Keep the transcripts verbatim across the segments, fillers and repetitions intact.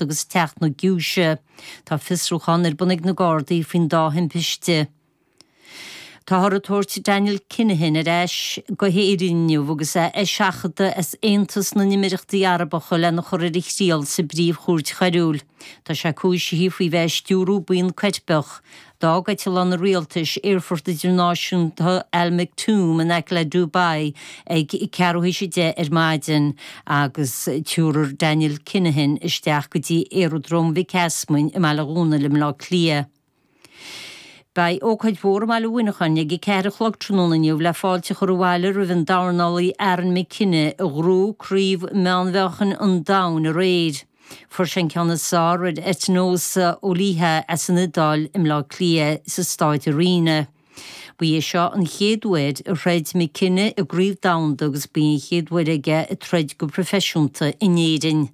agus Teach na Giúise. Tá fiosrúchán ar bun ag na Gardaí faoin dá thimpiste. Táthar ag tabhairt Daniel Kinahan ar ais go hÉirinn inniu agus é á sheachadadh as Aontas na nImireachtaí Arabacha lena chur ar a thriail sa bpríomhchúirt choiriúil. Tá sé cúisithe faoi bheith ag stiúradh buíon coirpeach. D'fhág eitleán an rialtais Aerfort Idirnáisiúnta Al Maktoum in aice le Dubai ag ceathrú théis a deich ar maidin agus tabharfar Daniel Kinahan isteach go dtí Aeradróm Mhic Easmainn i mBaile Dhúnail i mBleá Cliath. Beidh ócáid mhór i mBaile Mhuineacháin ag a ceathair a chlog tráthnóna inniu le fáilte a chur abhaile roimh an dornálaí Aaron McKenna a ghnóthaigh craobh meánmheáchain an domhain aréir. Fuair sé an ceann is fearr ar Etinosa Oliha as an Iodáil i mBleá Cliath sa Staid Arena. Ba é seo an chéad uair a throid McKenna i gcraobh domhanda agus ba í an chéad uair aige ag troid go proifisiúnta in Éirinn.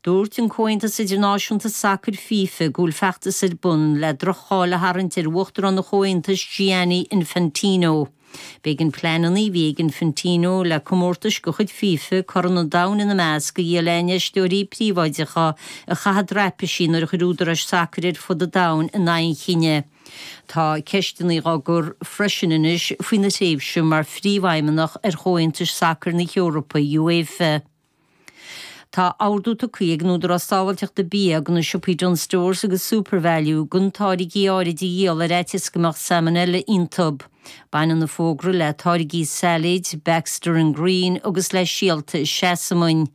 Dúirt an Comhaontas Idirnáisiúnta Sacair FIFA go bhfuil feachtas ar bun le droch-cháil a tharraingt ar Uachtarán an Chomhaontais Gianni Infantino. B'éigean pleananna a bhí ag Infantino le comórtais de chuid FIFA Corn an Domhain ina measc a dhíol le infheisteoirí príobháideacha a chaitheamh draipisí nuair a chuir údaráis sacair ar fud an domhain in aghaidh an chinnidh. Tá ceisteanna á gcur freisin anois faoina thréimhse mar phríomhfheidhmeannach ar Chomhaontais Sacair na hEorpa UEFA. Tá ordú tugtha ag an Údarás Sábháilteachta Bia do na siopaí Dunnes Stores agus SuperValu gan táirgí áirid a dhíol ar fhaitíos go mbeadh salmonella iontu. Baineann an fógra le táirgí sailéid, Baxter and Green agus le síolta seasamain.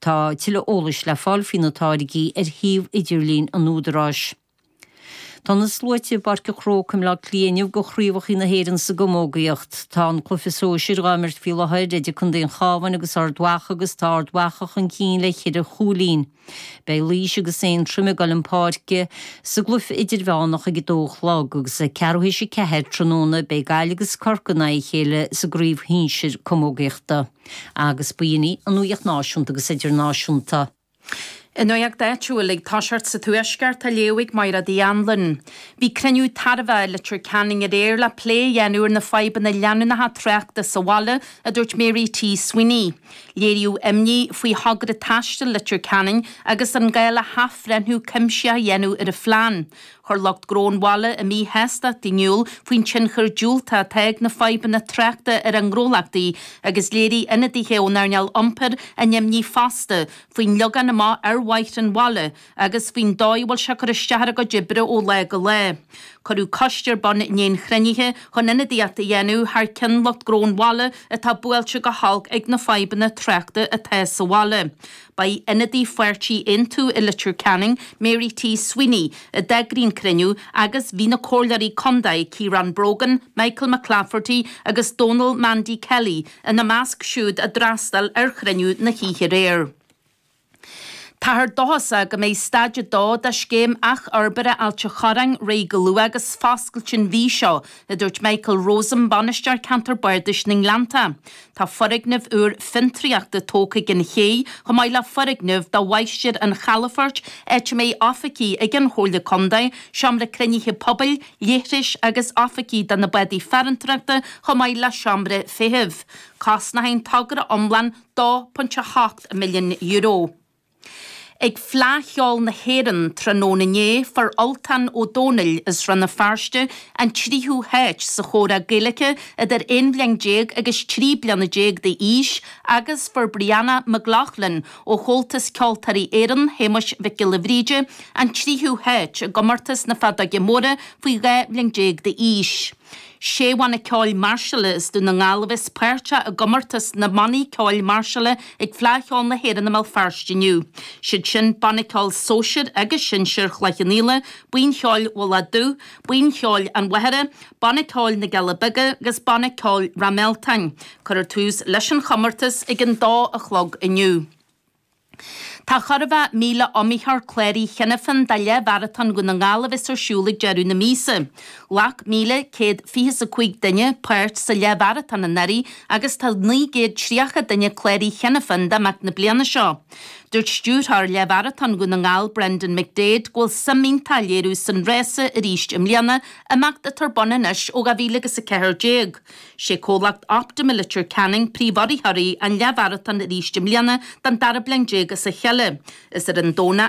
Tá tuilleadh eolais le fáil faoi na táirgí ar shuíomh idirlín an Údaráis. Tá na sluaite i bPáirc an Chrócaigh i mBleá Cliath inniu do chraobhacha na hÉireann sa gcamógaíocht. Tá an cluiche sóisir á imirt faoi láthair idir Contae an Chabháin agus Ard Mhacha agus tá Ard Mhacha chun cinn le ceithre chúilín. Beidh Laois agus Aontroim ag dul chun páirce sa gcluiche idirmheánach ag a dó a chlog agus ag ceathrú théis a ceathair tráthnóna beidh Gaillimh agus Corcaigh in aghaidh a chéile sa gcraobh shinsir camógaíochta. Agus b'in í an nuacht náisiúnta agus idirnáisiúnta. I nuacht áitiúil ag toiseacht sa Tuaisceart á léamh ag Máire Uí Anluain. Bhí cruinniú tairbhe i Leitir Ceanainn aréir le plé a dhéanamh ar na fadhbanna leanúnacha tráchta sa bhaile, a dúirt Mary T. Sweeney. Léiríodh imní faoi thogra taistil Leitir Ceanainn agus an gá le hathbhreithniú cuimsitheach a dhéanamh ar a phlean. Chuir lucht gnó an bhaile a míshástacht in iúl faoin tionchar diúltach atá ag na fadhbanna tráchta ar a ngnólachtaí agus léirigh ionadaithe ón earnáil iompair a n-imní fosta faoin leagan amach ar bhóithre an bhaile agus faoin dóigh a bhfuil sé ag cur isteach ar a gcuid oibre ó lá go lá. Cuireadh coiste ar bun i ndiaidh an chruinnithe chun ionadaíocht a dhéanamh thar ceann lucht gnó an bhaile atá buailte go holc ag na fadhbanna tráchta atá sa bhaile. Ba í ionadaí pháirtí Aontú i Leitir Ceanainn, Mary T. Sweeney, a d'eagraigh an cruinniú agus bhí na comhairleoirí contae Ciarán Brogan, Michael McClafferty agus Donal Mandy Kelly ina measc siúd a d'fhreastail ar chruinniú na hoíche aréir. Táthar dóchasach go mbeidh staid a dó de scéim athfhorbartha Ailt an Chorráin réidh go luath agus foscailte an mhí seo, a dúirt Michael Rosen, bainisteoir ceantar Bardais na nGleannta. Tá foirgneamh úr fiontraíochta tógtha ag an ché, chomh maith le foirgneamh do mháistir an chalafoirt, áit a mbeidh oifigí ag an Chomhairle Contae, seomra cruinnithe pobail, leithris agus oifigí do na bádaí farantóireachta chomh maith le seomra feithimh. Cosnóidh an togra iomlán dó ponc a hocht milliún euro. Ag Fleadh Cheoil na hÉireann tráthnóna inné, fuair Ultán Ó Dónaill as Rann na Feirste an tríú háit sa chomhrá Gaeilge idir aon bhliain déag agus trí bliana déag d'aois agus fuair Brianna McLaughlin ó Chomhaltas Ceoltóirí Éireann, Shéamuis Mhic Giolla Bhríde, an tríú háit i gcomórtas na Feadóige Móire faoi dhá bhliain déag d'aois. Sé bhanna ceoil máirseála as Dún na nGall a bheas páirteach i gcomórtas na mbannaí ceoil máirseála ag Fleadh Cheoil na hÉireann i mBéal Feirste inniu. Siad sin Banna Ceoil Sóisir agus Sinsir Chloich Cheann Fhaola, Buíon Cheoil Mhullach Dubh, Buíon Cheoil an Mhachaire, Banna Ceoil na gCealla Beaga agus Banna Ceoil Ráth Mealtain. Cuirfear tús leis an chomórtas ag an dó a chlog inniu. Tá Corrmhaith míle iomaitheoir cláraithe cheana féin do Leath-Mharatón Dhún na nGall a bheas ar siúl ag deireadh na míosa. Ghlac míle céad fiche is a cúig duine páirt sa Leath-Mharatón anuraidh agus tá naoi gcéad tríocha duine cláraithe cheana féin d'imeacht na bliana seo. Dúirt stiúrthóir Leath-Mharatón Dhún na nGall Brendan McDaid go bhfuil suim iontach á léiriú san rása arís i mbliana, imeacht atá ar bun anois ó dhá mhíle agus a ceathair déag. Sé comhlacht Optum i Leitir Ceanainn príomhurraitheoirí an Leath-Mharatón arís i mbliana don dara bliain déag as a chéile. chéile. Is ar an Domhnach